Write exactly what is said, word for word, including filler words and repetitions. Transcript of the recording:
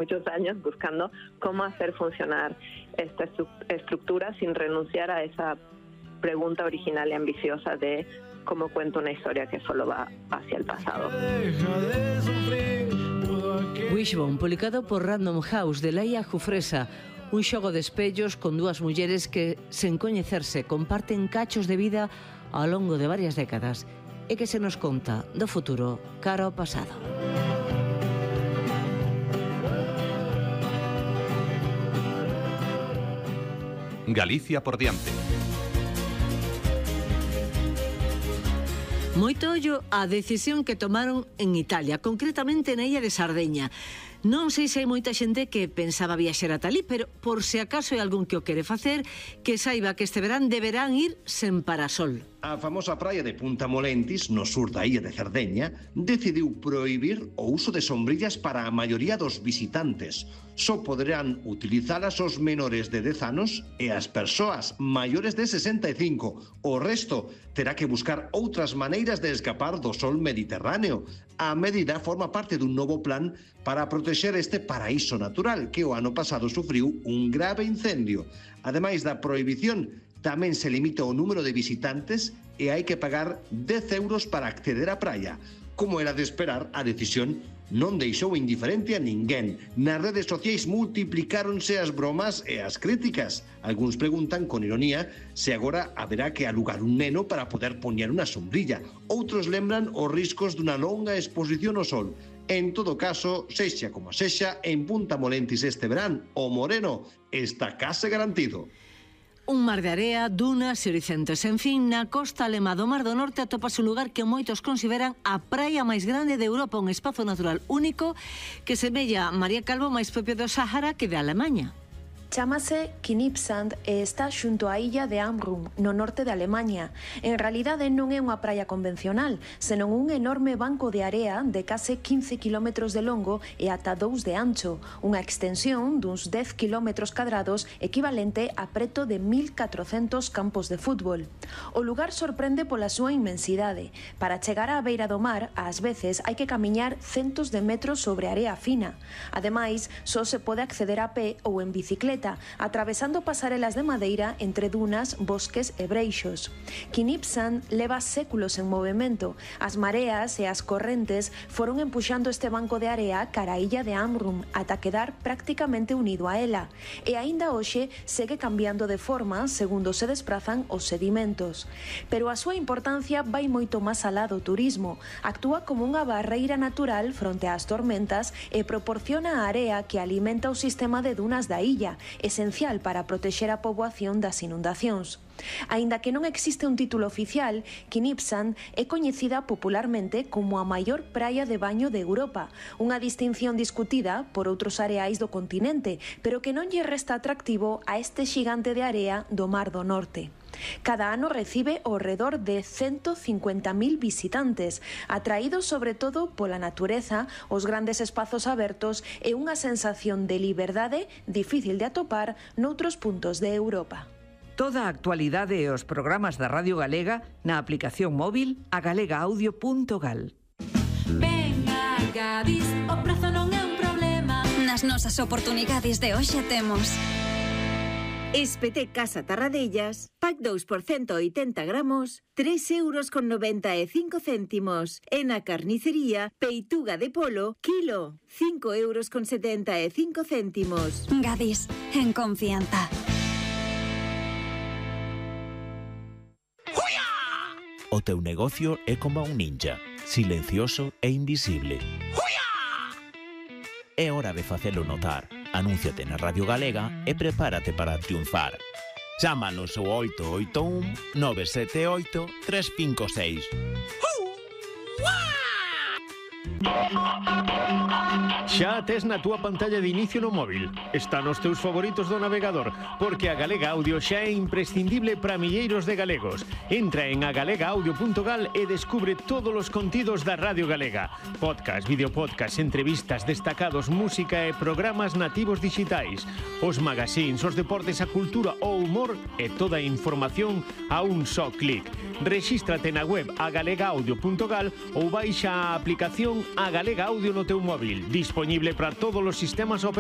muchos años buscando cómo hacer funcionar esta estructura sin renunciar a esa pregunta original y ambiciosa de cómo cuento una historia que solo va hacia el pasado. Wishbone, publicado por Random House, de Laia Jufresa, un xogo de espellos con dúas mulleres que, sen coñecerse, comparten cachos de vida ao longo de varias décadas e que se nos conta do futuro cara ao pasado. Galicia por diante. Moito ollo a decisión que tomaron en Italia, concretamente na illa de Sardeña. Non sei se hai moita xente que pensaba viaxar ata ali, pero por se acaso hai algún que o quere facer, que saiba que este verán deberán ir sen parasol. A famosa praia de Punta Molentis, no sur da illa de Cerdeña, decidiu prohibir o uso de sombrillas para a maioría dos visitantes. Só poderán utilizalas os menores de dez anos e as persoas maiores de sesenta e cinco. O resto terá que buscar outras maneiras de escapar do sol mediterráneo. A medida forma parte dun novo plan para protexer este paraíso natural que o ano pasado sufriu un grave incendio. Ademais da prohibición, tamén se limita o número de visitantes e hai que pagar dez euros para acceder á praia. Como era de esperar, a decisión non deixou indiferente a ninguén. Nas redes sociais multiplicáronse as bromas e as críticas. Algúns preguntan con ironía se agora haberá que alugar un neno para poder poñer unha sombrilla. Outros lembran os riscos dunha longa exposición ao sol. En todo caso, sexa como sexa, en Punta Molentis este verán, o moreno está case garantido. Un mar de area, dunas e horizontes. En fin, na costa alemá do Mar do Norte atopase un lugar que moitos consideran a praia máis grande de Europa, un espazo natural único que semella María Calvo máis propio do Sáhara que de Alemaña. Chámase Knipsand e está xunto á illa de Amrum, no norte de Alemaña. En realidade non é unha praia convencional, senón un enorme banco de area de case quince kilómetros de longo e ata dous de ancho, unha extensión duns dez kilómetros cadrados equivalente a preto de mil catrocentos campos de fútbol. O lugar sorprende pola súa inmensidade. Para chegar á beira do mar, ás veces hai que camiñar centos de metros sobre area fina. Ademais, só se pode acceder a pé ou en bicicleta, atravesando pasarelas de madeira entre dunas, bosques e breixos. Knipsand leva séculos en movimento. As mareas e as correntes foron empuxando este banco de area cara a illa de Amrum ata quedar prácticamente unido a ela. E aínda hoxe segue cambiando de forma segundo se desprazan os sedimentos. Pero a súa importancia vai moito máis alá do turismo. Actúa como unha barreira natural fronte ás tormentas e proporciona a area que alimenta o sistema de dunas da illa, esencial para protexer a poboación das inundacións. Aínda que non existe un título oficial, Knipsand é coñecida popularmente como a maior praia de baño de Europa, unha distinción discutida por outros areais do continente, pero que non lle resta atractivo a este xigante de area do Mar do Norte. Cada ano recibe ao redor de ciento cincuenta mil visitantes, atraídos sobre todo pola natureza, os grandes espazos abertos e unha sensación de liberdade difícil de atopar noutros puntos de Europa. Toda a actualidade e os programas da Radio Galega na aplicación móvil a galega audio punto gal. Venga, Gadis, o prazo non é un problema. Nas nosas oportunidades de hoxe temos Espeté Casa Tarradellas, pack dous por ciento oitenta gramos, tres euros con noventa e cinco céntimos. En a carnicería, peituga de polo, kilo, cinco euros con setenta e cinco céntimos. Gadis, en confianza. O teu negocio é como un ninja, silencioso e invisible. É hora de facelo notar. Anúnciate na Radio Galega e prepárate para triunfar. Chámanos ao oito oito un, nove sete oito, tres cinco seis. Xa tes na túa pantalla de inicio no móvil. Está nos teus favoritos do navegador, porque a Galega Audio xa é imprescindible para milleiros de galegos. Entra en a galega audio punto gal e descubre todos os contidos da Radio Galega. Podcast, videopodcast, entrevistas, destacados, música e programas nativos digitais. Os magazines, os deportes, a cultura, o humor e toda a información a un só clic. Rexístrate na web a galega audio punto gal ou baixa a aplicación a Galega Audio no teu móvil. Disponible disponible para todos los sistemas operativos